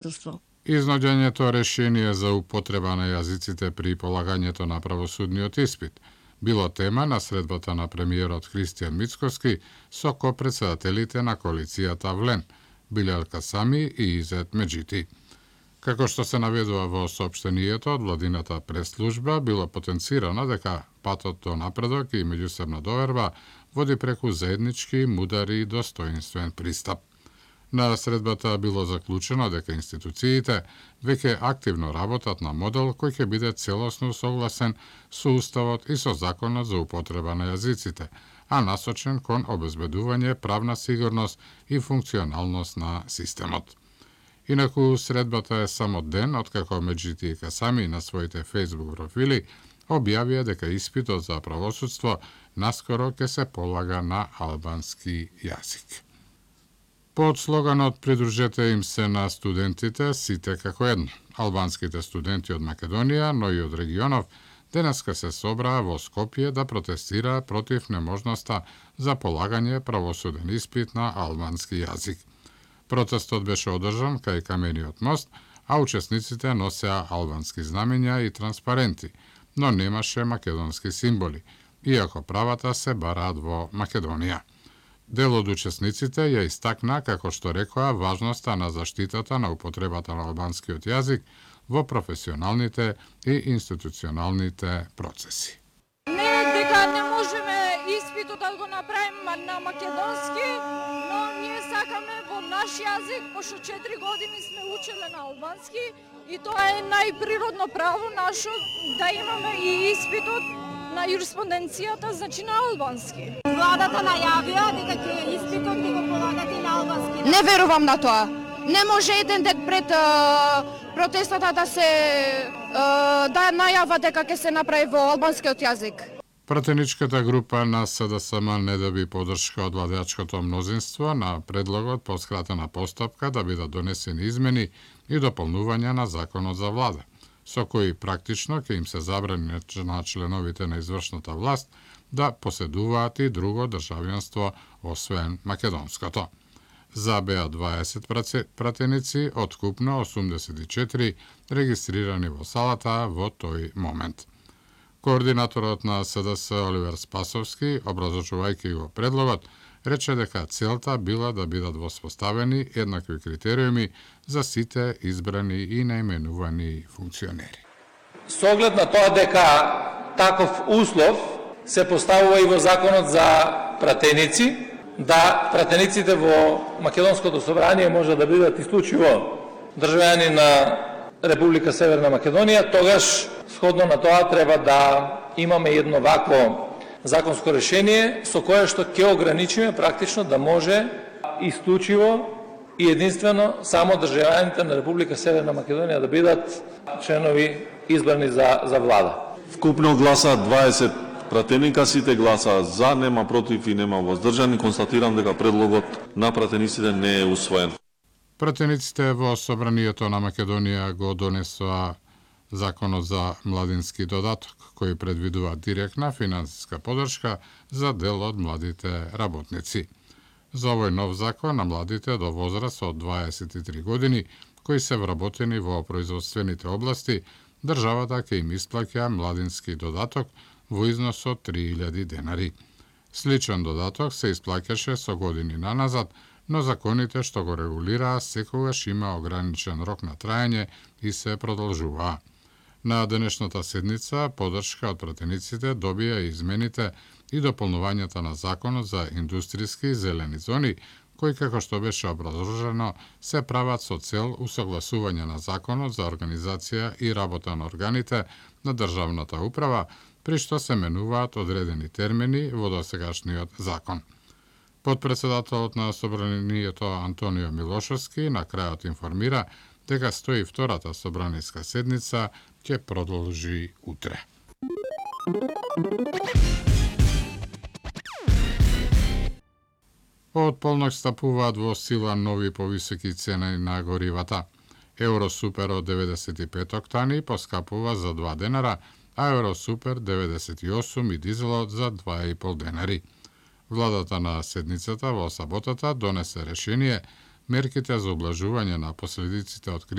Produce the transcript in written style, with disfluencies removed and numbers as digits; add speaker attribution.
Speaker 1: Изнаѓањето решение за употреба на јазиците при полагањето на правосудниот испит било тема на средбата на премиерот Христијан Мицкоски со копредседателите на коалицијата ВЛЕН, Билјал Касами и Изет Меджити. Како што се наведува во соопштението од владината пресслужба, било потенцирано дека патот до напредок и меѓусебна доверба води преку заеднички, мудар и достоинствен пристап. На средбата било заклучено дека институциите веќе активно работат на модел кој ќе биде целосно согласен со Уставот и со Законот за употреба на јазиците, а насочен кон обезбедување правна сигурност и функционалност на системот. Инаку, средбата е само ден откако Меджити и Касами на своите Facebook профили објавија дека испитот за правосудство наскоро ќе се полага на албански јазик. Под слоганот "Придружете им се на студентите, сите како едно", албанските студенти од Македонија, но и од регионов, денеска се собраа во Скопје да протестира против неможноста за полагање правосуден испит на албански јазик. Протестот беше одржан кај Камениот мост, а учесниците носеа албански знамења и транспаренти, но немаше македонски символи, иако правата се бараат во Македонија. Дел од учесниците ја истакна, како што рекоа, важноста на заштитата на употребата на албанскиот јазик во професионалните и институционалните процеси.
Speaker 2: Не дека не можеме испитот да го направиме на македонски, но ние сакаме во наш јазик, пошто 4 години сме учеле на албански и тоа е најприродно право наше да имаме и испитот на юриспонденцијата, значи на албански.
Speaker 3: Владата најавија дека ќе испитот ќе го полагате на албански.
Speaker 4: Не верувам на тоа. Не може еден ден пред протестата да најава дека ќе се направи во албанскиот јазик.
Speaker 1: Пратеничката група на СДСМ не доби поддршка од владеачкото мнозинство на предлогот по скратена постапка да бидат донесени измени и дополнувања на законот за влада, со кои практично ќе им се забрани на членовите на извршната власт да поседуваат и друго државјанство освен македонското. За беа 20 пратеници од купно 84 регистрирани во салата во тој момент. Координаторот на СДС Оливер Спасовски, образлучувајќи го предлогот, рече дека целта била да бидат воспоставени еднакви критериуми за сите избрани и наименувани функционери.
Speaker 5: Со оглед на тоа дека таков услов се поставува и во Законот за пратеници, да пратениците во Македонското собрание може да бидат исклучиво државјани на Република Северна Македонија, тогаш сходно на тоа треба да имаме едно вакво законско решение со кое што ќе ограничиме практично да може исклучиво и единствено само државјаните на Република Северна Македонија да бидат членови избрани за влада.
Speaker 6: Вкупно гласа 20 пратеника, сите гласа за, нема против и нема воздржани. Констатирам дека предлогот на пратениците не е усвоен.
Speaker 1: Пратениците во Собранието на Македонија го донесоа Законот за младински додаток, кој предвидува директна финансиска поддршка за дел од младите работници. За овој нов закон на младите до возраст од 23 години, кои се вработени во производствените области, државата ќе им исплаќа младински додаток во износ од 3000 денари. Сличен додаток се исплаќаше со години наназад, но законите што го регулираа секогаш има ограничен рок на траење и се продолжуваа. На денешната седница поддршка од пратениците добија измените и дополнувањата на Законот за индустријски зелени зони, кои, како што беше образложено, се прават со цел усогласување на Законот за организација и работа на органите на државната управа, при што се менуваат одредени термини во досегашниот закон. Подпредседателот на Собранието Антонио Милошовски на крајот информира дека 102-та собраниска седница ќе продолжи утре. Од полнок стапуваат во сила нови повисоки цени на горивата. Евросупер од 95 октани поскапува за 2 денара, а Евросупер 98 и дизелот за 2,5 денари. Владата на седницата во саботата донесе решение мерките за облажување на последиците од